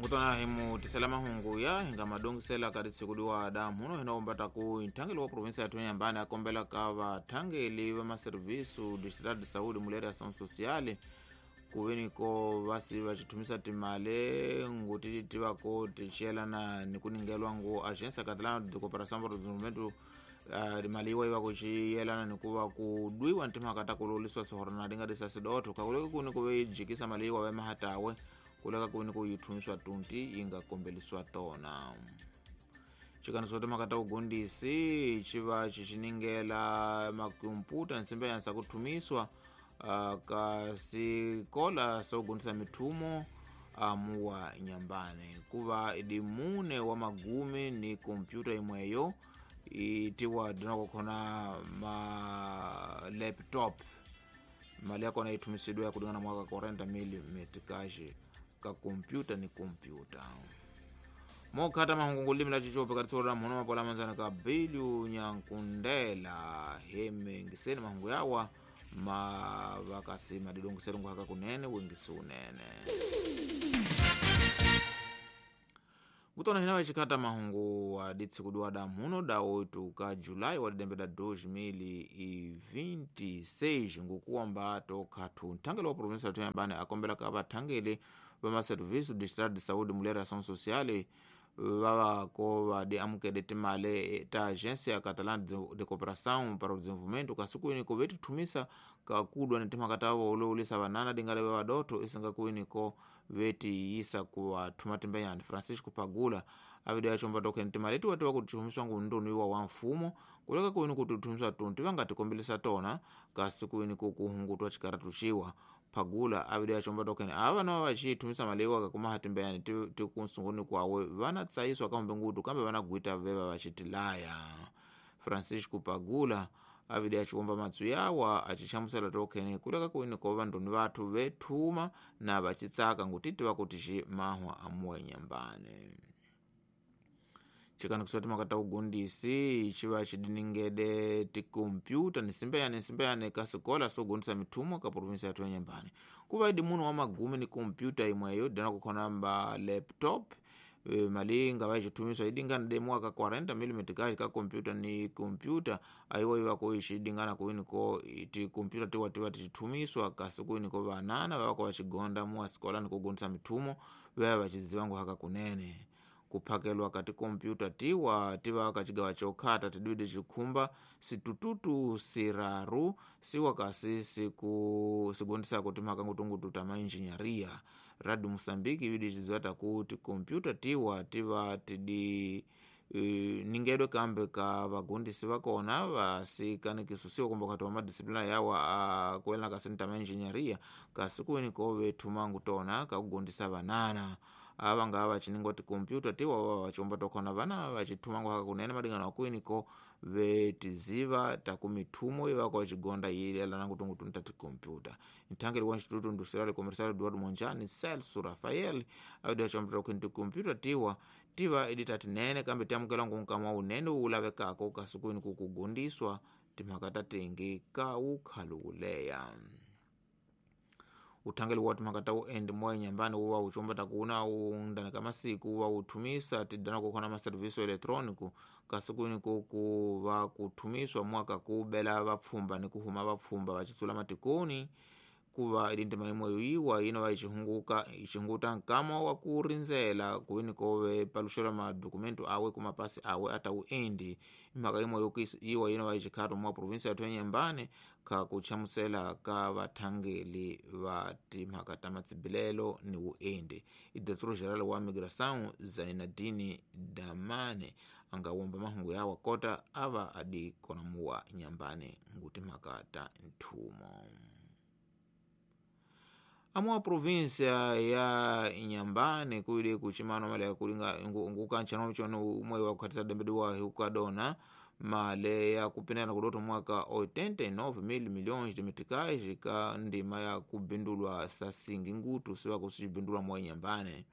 Ngutona hi mu tisela mahungu ya hi nga madongisela ka ritshiku liwa damuno hina ombata ku nthangeli wa provinsia ya Inhambane a kombela ka vathangeli va maserviço distrital de saúde mulher e ação social kuveni ko vasi va xithumisa timali nguti ti va ko ti xiyelana ni ku ningelwa ngu agência catalana de cooperação para o desenvolvimento mali yiwa yi va ku xiyelana ni ku va ku dwiwa ni timhaka ta ku lolisiwa sihorona di nga di sasidotho kakuleka kuni ku ve yi jikisa mali yiwa va mahatawe kuleka kuni ku yi thumiswa tunti yi nga kombeliswa tona. Xikaniso timhaka ta vugundisi xi va xi xi ningela makomputa nsimbe yansa ku thumiswa ka sikola sa kugundisa mithumo amuwa Inhambane kuva idi mune wa magumi ni kompyuta imweyo itiwa dinako khona ma laptop mali yakona ithumisidwe kulingana mwaka 40 mil metikaji ka kompyuta ni kompyuta. Mokhata mahungu limi la chichope katitsolo mhono mapola manzana ka Bilyu Nyankundela hemengiseni mahungu yawa ma vakasi madidongiselo nguhaka kunene wengisi unene. Kutona hina wachikhata mahungu wa ditsikudiwa damuno da 8 ka Julai wa didembe da 2026 ngukuwamba tokhathu nthangeli wa provinsia ya Inhambane akombela ka vathangeli va maserviço distrital de saúde mulher e ação social vavako vadi amukele timali ta agência catalana de cooperação para o desenvolvimento kasi kuini ko vetithumisa kakudwa ni timhaka ta volowulisa vanana dingale va vadotho isinga kuini ko vetiyisa ku vathuma timbenyani. Francisco Pagula avidi achomba tokheni timali leti watiwa kuti thumiswa ngu ndoni wa wa mfumo kuleka kuini kuti thumiswa tunti va nga tikombelisa tona kasi kuini ko kuhungutwa xikaratu xiwa. Pagula avidi achomba tokheni ava na va xithumisa mali yiwa kakuma timbeyani ti kunsunguni kwawe vana tsayiswa kambe ngutu kambe vana gwita veva va xitilaya. Francisco Pagula avidi achiwomba matsu yawa achichamusela tokheni kuleka kuini ko vandoni vathu vethuma na vachitsaka ngutiti va kuti xi mahwa amuwa Inhambane. Chikanikiso timhaka ta vugundisi xi va xi diningede tikompyuta ni simbeyane ka sikola swo gundisa mithumo ka provinsia ya Inhambane ku va idi munhu wa magumi ni kompyuta imweyo dana ku khona mba laptop mali yi nga va yi xithumiswa yi dingana de mwaka 40 mm ka kompyuta ni kompyuta ayiwa yi va ko yi xi dingana kuini ko tikompyuta tiwa ti va ti xithumiswa kasi kuini ko vanana va va ko va xigonda muwa sikola ni ku gundisa mithumo va ya va xiziva nguhaka kunene. Kuphakelwa ka tikompyuta tiwa tiva ka xigawa xokhata tidwide xikhumba sitututu siraru siwa kasi siku sigondisako timhaka ngutungutu ta mainjinyaria. Radio Moçambique ibidi xiziva taku tikompyuta tiwa tiva tidi ningedwe kambe ka vagundisi vakona vasikanekisusiwa kumbe kati wa madisiplina yawa kuelana kasi ni ta mainjinyaria kasi kuini ko vethumangu tona kakugundisa vanana ava nga vachiningwa tikompyuta tiwa va vachomba tokhona vana vachithumangu haka kunene madingana wakwini ko vetiziva taku mithumo ivako vachigonda yilelana ngutungutu ta tikompyuta. Nthangeli wa Instituto Industrial Comercial Eduardo Monjane Celso Rafael avidi achomba tokheni tikompyuta tiwa tiva idi tatinene kambe tiamukela ngunkama unene wu lavekako kasi kwini ku kugundiswa timhaka ta tengi ka wukhalukuleya. Uthangeli wa timhaka ta uendi moya Inhambane wu va wu comba ta kuna wu ndana ka masiku wu va wu thumisa tidana ku khona maserviço eletrônico kasi kwini ko ku va ku thumiswa mwaka ku bela vapfhumba ni ku huma vapfhumba va xitsula matikoni ku va idi ntima yimwe yiwa yino va yi xihunguta nkama wa ku rindzela kuini ko ve paluxela madokumento awe ku mapasi awe ata uendi. Imhaka yimwe yiwa yino va yi xikhato mwa provinsia ya Inhambane ka ku chamusela ka vathangeli va timhaka ta matsibilelo ni vuendi. I diretor geral wa migração Zainadini Damane a nga womba mahungu yawa kota a va adi kona muwa Inhambane ngu timhaka ta nthumo. Amuwa provinsia ya Inhambane kuile kuchimano mali ya kulinga ngukanchana michono umwe wa kukhatisa dembe wa hukadona male ya kupinana kudoto mwaka 89 milhões de meticais ka ndima ya kubindulwa sasingi ngutu siwa kusibindulwa mwa Inhambane.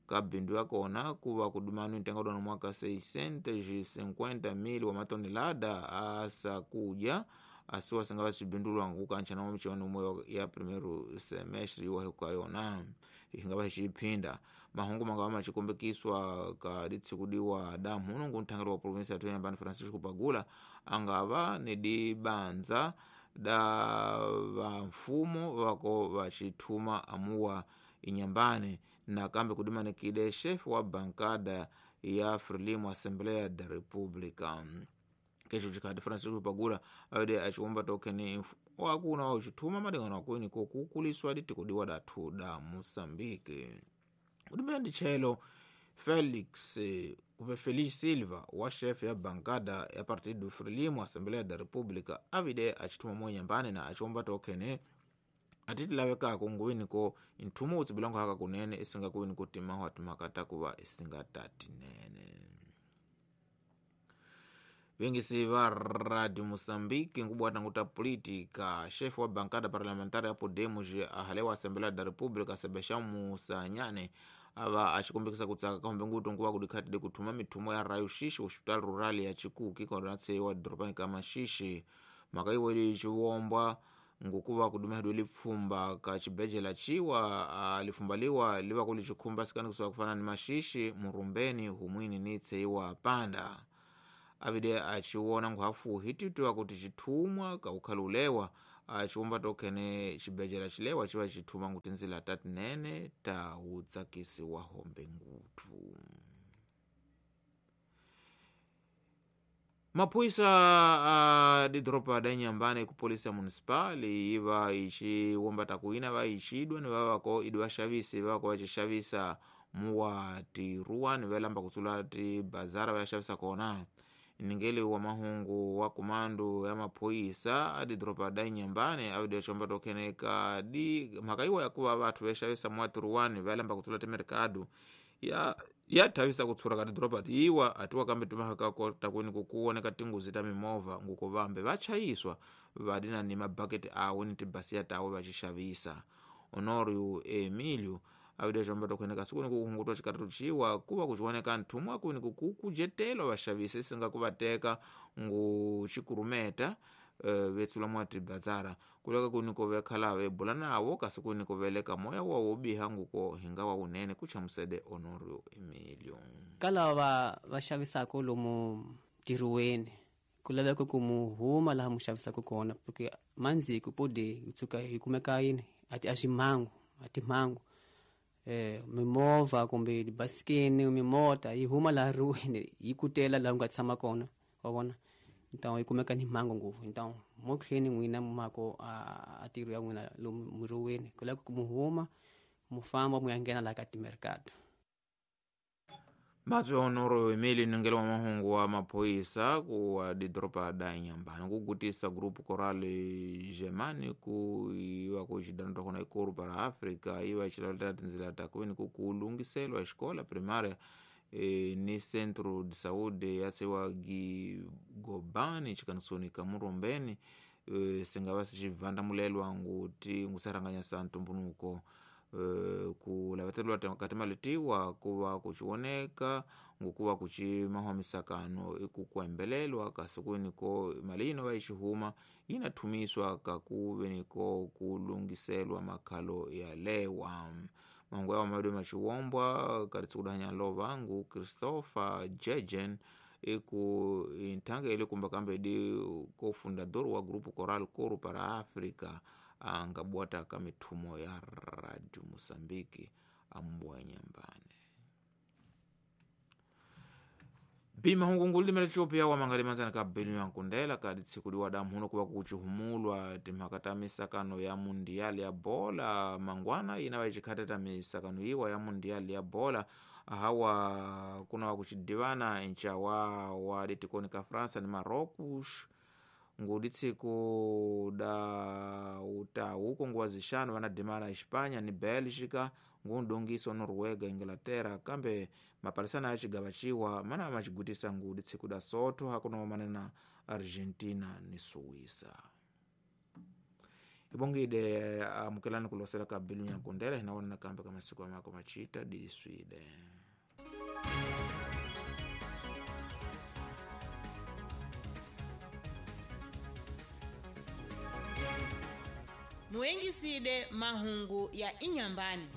Ka bindu yakona kuva kudumanu ntenga dona mwaka 650 mil wa matonelada asakuja asiwa singava xibindulwa ngukancha na michuano umwe ya primeiro semestre iwa hukayona. Hingava xiphinda mahungu mangava machikombekiswa ka ditshikudiwa damuno ngu nthangeli wa provinsia ya Inhambane Francisco Pagula angava ni dibanza da vamfumo vako vachithuma amuwa Inhambane nakambe kudimanikide chefe wa bankada ya Frelimo Assembleia da República. Kesho chikhati Francisco Pagula awede achiwomba tokeni wakuna wauchithuma malingano akweni kokukuliswa ditikudiwa dathu da Moçambique. Kudimene nditchelo Felix kupe Feliz Silva wa chefe ya bankada ya Partido Frelimo Assembleia da República avide achithuma mo Inhambane na achiwomba tokene atitilawekako nguwiniko nthumo utsibilango haka kunene isinga kuwiniko timaho atimakata kuva isinga tatinene. Vengisi va Radio Moçambique nkubwata nguta política chefe wa bancada parlamentar ya Podemos ahalewa Assembleia da República Sebastião Musanyane ava achikumbikisa kutsaka kahombe ngutu nkuva kudikhatide kuthuma mithumo ya raio xixi hospital rural ya Chikuki konatseyiwa doropani ka Maxixi. Mhaka iweli xivombwa ngukuva kudumehedwe lipfumba ka xibedlhela ciwa lipfumba liwa liva ku lixikhumba sikani kusuka kufana ni Maxixi, Murumbeni, Humwini ni tseiwa Panda. Avide achiwona nkhuhafuhi titiwa kuti xithumwa ka ukhalulewa achiwomba tokhene xibedlhela xilewa xiva xithuma ngu tindzila ta tinene ta wutsakisi wa hombe nguthu. Maphorisa a didoropa da Inhambane ku polisia municipal yiva ixiwomba takuina va ixidwa ni vavako idi vaxavisi vavako va xixavisa muwa tiruwa ni valamba kutsula tibazara va ya xavisa kona. Ningeli wa mahungu wa komando ya maphorisa a didoropa da Inhambane avide xomba tokhene ka di mhaka yiwa yakuva vathu va xavisa muwa tiruwani va lamba kutsula timerikado ya thavisa kutshura ka tidoropa tiyiwa atiwa kambe timhaka takwini kukuwoneka tingozi ta mimovha nguko vambe va chayiswa vadina ni mabaketi awo ni tibasiya tawo va xixavisa. Honorio Emilio avide xomba tokhene siku ni kuhungutwa xikatatu ciwa kuva kuxiwoneka nthumo akwini kukujetelwa vaxavisi isinga kuvateka ngu xikurumeta vetsula mwa tibazara kuleka kuniko vekhala vebula nawo kasi kuniko veleka moya wa wobiha nguko hinga wa unene kuchamusede Honorio Emilio. Kala va xavisaka lomu ntirhweni ku laveka ku mu huma laha mu xavisaka kona porque mandziku pode hi tshuka hi kumeka yini a ximhangu a timhangu mimovha kumbe tibasikeni mimota yi huma laha riweni yi kutela laha u nga tshama kona wa vona. Então yi kumeka ni mhangu ngopfu. Então mo tlheni n'wina mako a ntirho ya n'wina lomu muriweni ku laveka ku mu huma mu famba mu ya nghena laha ka timerikado. Matswe Honorio Emilio ningeli wa mahungu wa maphorisa ku wa didoropa da Inhambane kugutisa grupo coral Germani ku iva ku xidano tokona ikoru para Africa iva xilalela tindzila ta kuveni ku kulungiselwa xikola primária ni centro de saúde ya tseiwa Gobani xikanisoni ka Murumbeni singava sixivandamulelwa nguti ngusarhanganyasa ntumbunuko ku laveteriwa ka timali tiwa kuva kuxiwoneka ngukuva kuxi mahwamisakano iku kuembelelwa kasi kuveniko mali yino va yi xihuma yi na thumiswa ka kuveniko ku lunghiselwa makhalo ya lewa. Mahungu yawa mavedi maxiwombwa ka ritsikudanya lova ngu Christopher Jejen iku inthangeli kumba kambe di cofundador wa grupo coral Coro para Africa angabwata ka mithumo ya Radio Moçambique ambuwa Inhambane. Bima hungu limela Ethiopia wa mangali manzana ka belu ya nkundela ka ditshikudiwa da mhuno kuva kuchihumulwa timhaka ta misakano ya mundial ya bola mangwana ina va xikhata ta misakano yiwa ya mundial ya bola hawa kuna wa kuchidivana nchawa wa ditikoni ka Fransa ni Marocos ngudi tsiku da utawu konguwa zixanu vana dimana Espanha ni Bélgica ngundongiso Noruega Inglaterra kambe mapalisana ya xigava ciwa mana maxigutisa ngudi tsiku da Sotho hakuna manena Argentina ni Suíça. Ibongide amukelani kulosela ka belu nyankundela hinaona nakambe ka masiku amako machita diswide. Muengiside mahungu ya Inhambane.